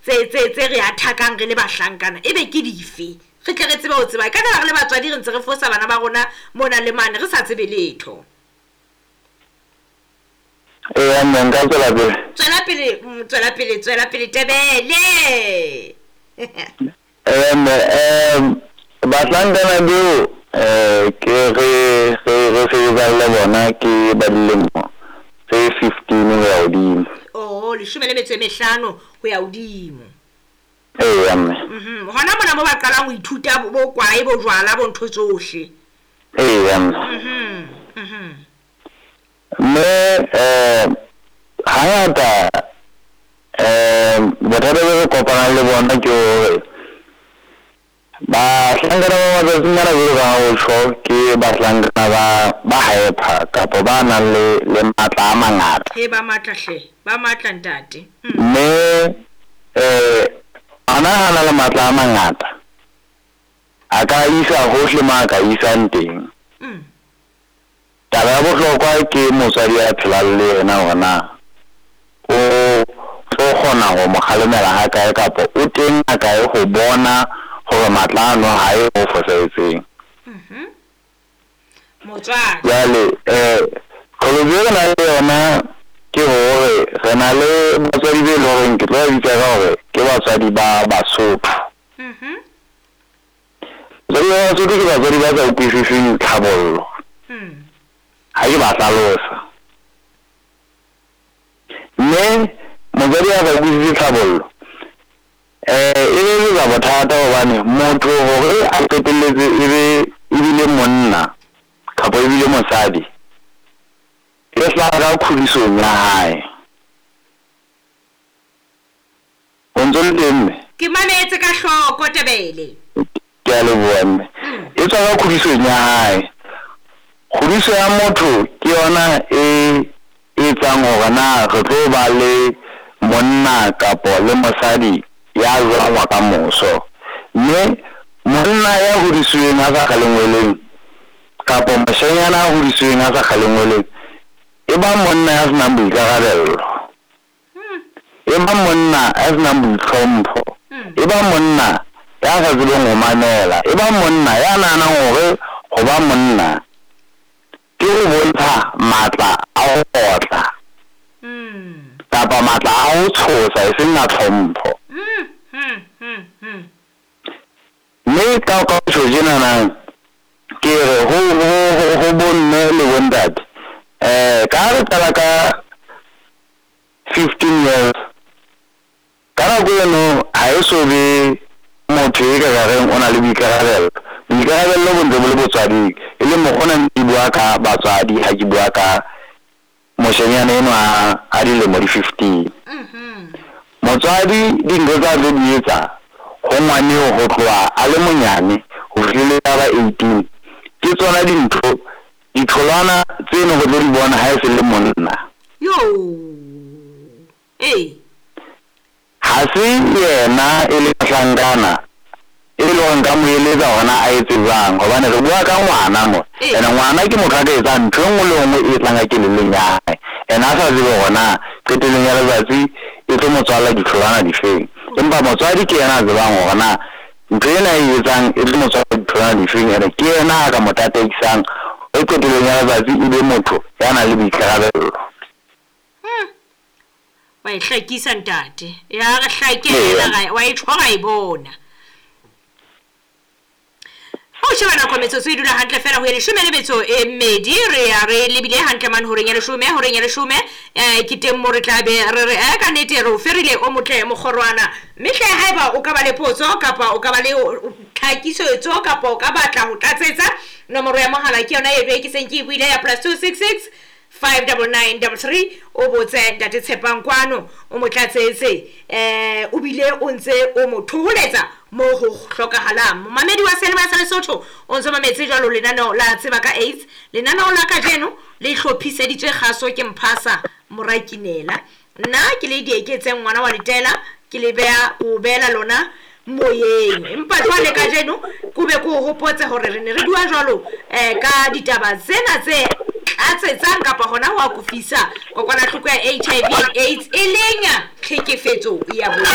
tse tse tse re athakang re le bahlankana e be ke dife? Re tle re tsebe ho tseba. E ka re le batswadi re ntse re fosa bana ba rona mona le mane re sa tsebe letho. Eya mme, nka tswela pele. Tswela pele, tswela pele, tswela pele Tebele. Eya mme, bahlankana beo ke re re re sebetsang le bona ke ba dilemo tse 15 ho ya hodimo. Oh, 15 ho ya hodimo. Eya mme. Hona mona mo ba qalang ho ithuta bo kwae, bo jwala, bo ntho tsohle. Eya mme. Mme hangata bothata bo re kopanang le bona ke hore bahlankana ba matsatsing ana jwalo ka ha o tjho, ke bahlankana ba hyper kapa ba nang le matla a mangata. He, ba matla hle, ba matla ntate. Mme ngwana ha na le matla a mangata a ka isa hohle mo a ka isang teng. Taba ya bohlokwa ke motswadi ya phelang le yena hore na o tlo kgona ho mo kgalemela ha kae kapa o teng a kae ho bona hore matla ano ha ye ho fosahetseng. Motswadi. Jwale qholotso e re nang le yona ke hore re na le batswadi be leng horeng ke tlo ba bitsa ka hore ke batswadi ba Basotho. Batswadi ba Basotho ke batswadi ba sa utlwisiseng tlhabollo. Ha ke ba hlalosa. Mme motswadi a sa utlwisise tlhabollo, e be etsa bothata hobane motho hore a qetelletse e be ebile monna kapa ebile mosadi, e hlaha ka kgodisong ya hae. O ntso le teng mme? Ke mametse ka hloko Tebele. Ke a leboha mme. E tswa ka kgodisong ya hae. Kgodiso ya motho ke yona e etsang hore na re tlo ba le monna kapo le mosadi ya jwang wa ka moso. Mme monna ya hodisweng a sa kgalengweleng kapo moshanyana a hodisweng a sa kgalengweleng e ba monna ya senang boikarabello. E ba monna ya senang boitlhompho. E ba monna ya sa tsebeng ho mamela. E ba monna ya nahanang hore ho ba monna ke ho bontsha matla a ho otla kapa matla a ho tshosa e seng a tlhompho. Mme ka tjho tjenana ke re ho bomme le bontate, ka re qala ka 15 years, ka nako eno ha e so be motho e ka reng o na le boikarabello. Boikarabello bo ntse bo le botswading, e leng mokgwa ona ke bua ka batswadi ha ke bua ka moshanyana enwa a dilemo di 15. Motswadi dintho tsa tlo di etsa ho ngwaneo ho tloha a le monyane ho fihlile a ba 18, ke tsona dintho ditholwana tseno re tlo di bona ha e se le monna. Yo. Ee. Ha se yena e le mohlankana e le hore nka mo eletsa hore na a etse jwang, hobane re bua ka ngwana mo. Ene ngwana ke motho a ka etsang ntho e nngwe le nngwe e tlang ka kelellong ya hae, ene a sa tsebe hore na qetellong ya letsatsi e tlo mo tswalla ditholwana difeng. Empa motswadi ke yena a tsebang hore na ntho ena e etsang e tlo mo tswalla ditholwana difeng, ene ke yena a ka mo tataisang hore qetellong ya letsatsi e be motho ya nang le boikarabello. Wa e hlakisa ntate. Ya re hlakela, wa e tjho ra e bona. Ha o sheba nako metsotso e dula hantle fela ho ya 12 re ya re lebile hantle mane horeng ya 10, horeng ya 10, ke teng mo re tla be re re ka nnete re o ferile o motle mokgorwana. Mme hle haeba o ka ba le potso kapa o ka ba le tlhakisetso kapa o ka batla ho tlatsetsa, nomoro ya mohala ke yona e ke seng ke e buile ya +266 59933, o botse ntate Tshepang kwano o mo tlatsetse, o bile o ntse o mo thoholetsa mo ho hlokahalang. Momamedi wa Seyalemoya sa Lesotho o ntse mametse jwalo lenaneo la Tseba ka AIDS. Lenaneo la kajeno le hlophiseditswe kgaso ke Mphasa Morakinela. Nna ke le Dieketseng ngwana wa Letela, ke le beha o beela lona moyeng. Empa jwale kajeno ko be ko hopotse hore re ne re bua jwalo ka ditaba tsena tse tlatsetsang kapa hona ho akofisa kokwanahloko ya HIV and AIDS e leng tlhekefetso ya bong.